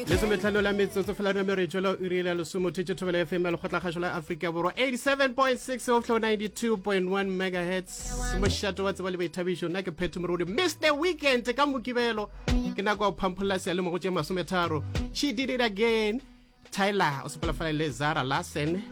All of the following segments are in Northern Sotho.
Lesometlhano la metsotso fela re mere tšwela iri la lesomo thetše thobela fm ya lekgotlakgašo la afrika borwa 87.6 go fihla 92.1 megahertz mošato wa tseba le boithabišo nna ke phetho morodi mr weekend ka mokibelo ke nako ya go phampholla seyalemogo tše masometharo she did it again Tyler o sepela fela le Zara Larsen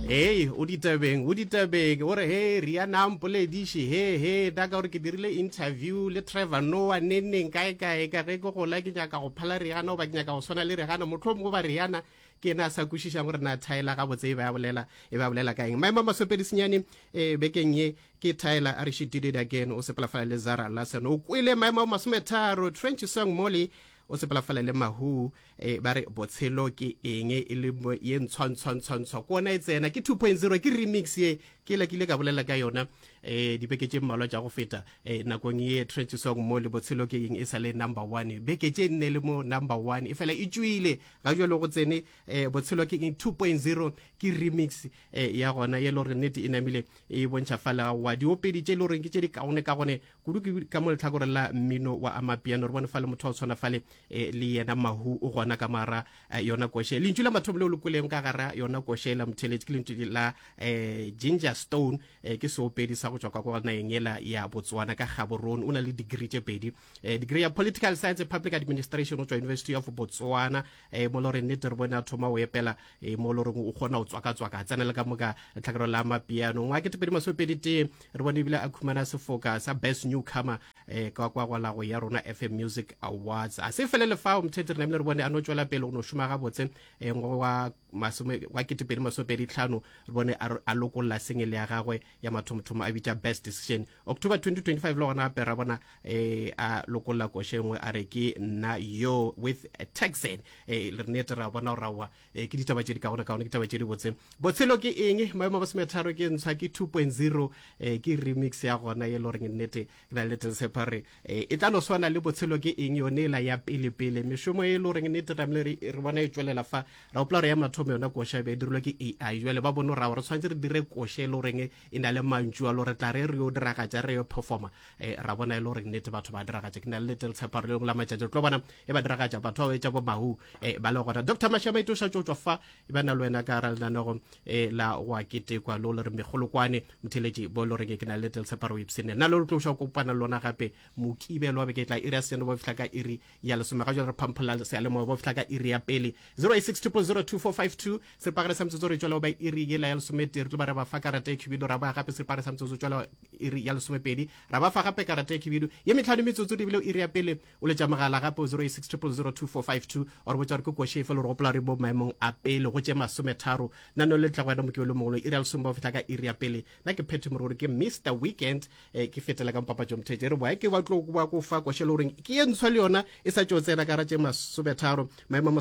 Hey, o ditabeng, o ditabeng. O re he Rihanna mpolediše, he he da ka gore ke dirile interview le Trevor Noah neneng kae kae ka ge ke gola ke nyaka go phala Rihanna goba ke nyaka go swana le Rihanna mohlomongwe goba Rihanna ke ena a sa kwešišang gore na Tyler gabotse e be a bolela e be a bolela ka eng. Maemo a masopedi senyane eh, bekeng ye ke Tyler a re she did it again o sepela fela le Zara Larsen. O kwele maemo a masometharo Trench Song Molly o sepela fela le mahu e ba re botshelo ke eng e le ye ntshwa ntshwa ntshwa ntshwa ke ona e tsena ke 2.0 ke remix ye ke la kile ka bolela ka yona eh dibeke tše mmalwa tša go feta eh nakong ye trench song mo le botshelo ke eng e sa le number 1 beke tše nne le mo number 1 e fela e tšwile ga jalo go tsene eh botshelo ke eng 2.0 ke remix eh ya gona ye le gore nnete e namile e bontšha fela wa diopedi tše le goreng ke tše di kaone ka gone Kudu ke ka mo lehlakoreng la mmino wa amapiano re bone fale motho wa go tshwana fale eh, le yena Mahu o gona ka mara eh, yona koše. Lentšu la mathomo leo le kweleng ka gara yona koše la motheletši ke lentšu la eh, Ginger Stone eh, ke seopedi sa go tšwa kwa kwa nageng yela ya Botswana ka Gaborone. O na le degree tše pedi eh, degree ya Political Science and Public Administration o tšwa University of Botswana eh, mo le gore nnete re bone a thoma go epela eh, mo le gore o kgona go tswaka-tswaka a tsena le ka mo ka lehlakoreng la amapiano. Ngwaga 2021 re bone ebile a khumana sefoka sa best newcomer eh, ka kwa go lago ya rona fm music awards a se felele fao mthete re namile re bone a no tšwela pele go no šoma gabotse eh, wa masome wa 2025 re bone a lokolla sengele ya gagwe ya mathomothomo a bitša best decision october 2025 le gona gape ra bona eh, a lokolla koše nngwe a re ke nna yo with texan eh, re nete ra bona gore aowa e ke ditaba tše di kaone kaone ke ditaba tše di botse botshelo ke eng maemo a masometharo ke ntsha ke 2.0 e ke remix ya gona ye le goreng nnete ke na le tshepa re e tla no swana le botshelo ke eng yone ela ya pele pele mešomo e le goreng nnete ramile re re bona e tšwelela fa ra gopola gore ya mathomo yona koša e be e dirilwe ke AI jwale ba bone gore re tshwanetse re dire koša e le goreng e na le mantšu a le gore tla re re yo diragatša re yo performa eh, ra bona e le gore nnete batho ba diragatša ke na le lete tshepa re lengwe la matšatši re tlo bona e ba diragatša batho ba etša bo mahu eh, ba le gona dr mashamaite o šatše o tšwa fa e ba na le wena ka ra lenanego eh, la go a ketekwa le o le re megolokwane motheletši bo le goreng ke na le lete tshepa re o ipsene nna le re tlo ša kopana le lona gape mokibelo wa beke e tla iri ya seno ba fihla ka iri ya lesome ga jale re phampholla seyalemoya ba fihla ka iri ya pele 086 0002452 seripagare sa metsotso re tšwela ba iri yela ya lesometee re tlo ba re ba fa karata e khibidu ra ba gape seripagare sa metsotso tšwela iri ya lesomepedi ra ba fa gape karata e khibidu ye metlhano metsotso di bile iri ya pele o letša mogala gape o 086 0002452 o re botša gore ke koše efe le gore gopola re mo maemong a pele go tše masometharo nano le tla go wena mokibelo mongwe iri ya lesome ba fihla ka iri ya pele nna ke phethe moruri ke mr weekend eh, ke fetela ka mpapatšo mothetše re boa ke ba tlo ba ko fa koše le goreng ke ye ntshwa le yona e sa tšo tsena ka ra tše masometharo maemo a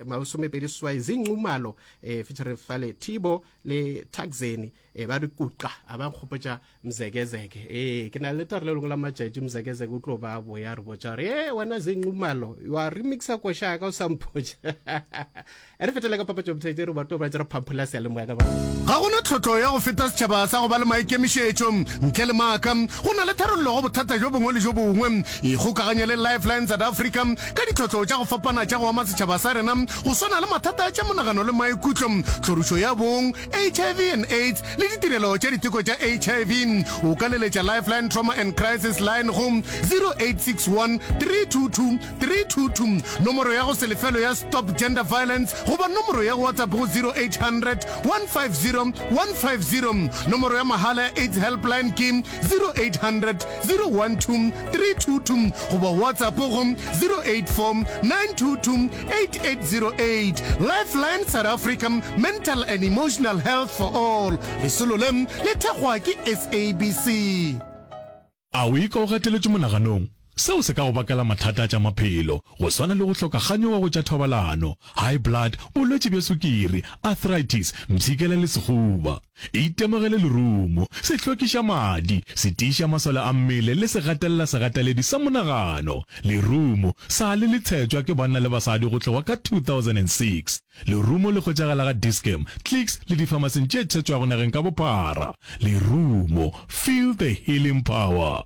masomepedi swai zinqumalo eh, featuring fale thibo le taxeni eh, ba re kuqa a ba nkgopotša mzekezeke ee ke na le tare le lengwe la matšatši mzekezeke o tlo ba boya re botša gore e wena zinqumalo wa remixa koša ka o sa mpotša E re fetele ka papatšo mothaitse re batho ba re phamphola seyalemoya ka ba. Ga go na tlhotlo ya go feta setšhaba sa go ba le maikemišetšo. Ntle le maaka, go na le tharollo go bothata bjo bongwe le bjo bongwe. Ikgokaganye le Lifeline South Africa ka ditlhotlo tša go fapana tša go ama setšhaba sa rena, go swana le mathata a tša monagano le maikutlo, tlhorišo ya bong, HIV and AIDS le ditirelo tša diteko tša HIV. O ka leletša Lifeline Trauma and Crisis Line go 0861 322 322, nomoro ya go se lefelo ya Stop Gender Violence goba nomoro ya WhatsApp go 0800 150 150. Nomoro ya mahala ya AIDS Helpline ke 0800 012 322 goba WhatsApp go 084 922 8808. Lifeline South Africa, Mental and Emotional Health for All. Lesolo le le thekgwa ke SABC. A o ikwa o gateletšwe monaganong? Seo se ka go bakela mathata a tša maphelo, go swana le go hloka kganyogo go tša thobalano, high blood, bolwetši bja sukiri, arthritis, mpshikela le sehuba. Itemogele lerumo, se hlwekiša madi, se tiiša masole a mmele le se gatelela segateledi sa monagano. Lerumo sa le le tshetšwa ke banna le basadi go tloga ka 2006. Lerumo le hwetšagala ga Dis-Chem, Clicks le difamasing tše tshetšwago nageng ka bophara. Lerumo, feel the healing power.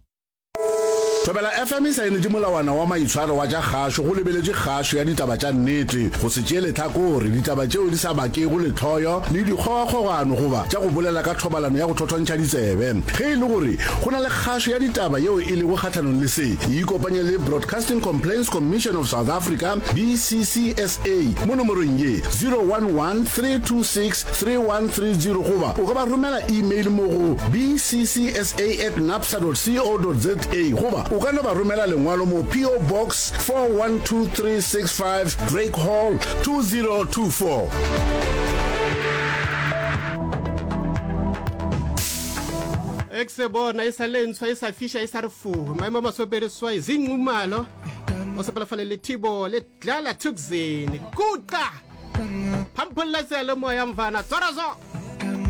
Thobela FM e saenetše molawana wa maitshwaro wa tša kgašo go lebeletše kgašo ya ditaba tša nnete, go se tšee lehlakore, ditaba tšeo di sa bakego lehloyo le dikgogakgogano goba tša go bolela ka thobalano ya go thothontšha ditsebe. Ge e le gore go na le kgašo ya ditaba yeo e lego kgahlanong le se, ikopanye le Broadcasting Complaints Commission of South Africa, BCCSA, mo nomorong ye, 011 326 3130 goba o ka ba romela email mo go bccsa at napsa dot co dot za goba o ka no ba romela lengwalo mo PO Box 412365 Drake Hall 2024. Ekse bona e sa le ntshwa e sa fiša e sa re fuhu maemo a masopedi swai zinqumalo o sepela fale le thibo le dlala thukzini kuqa phampholla seyalemoya mfana tswara zo.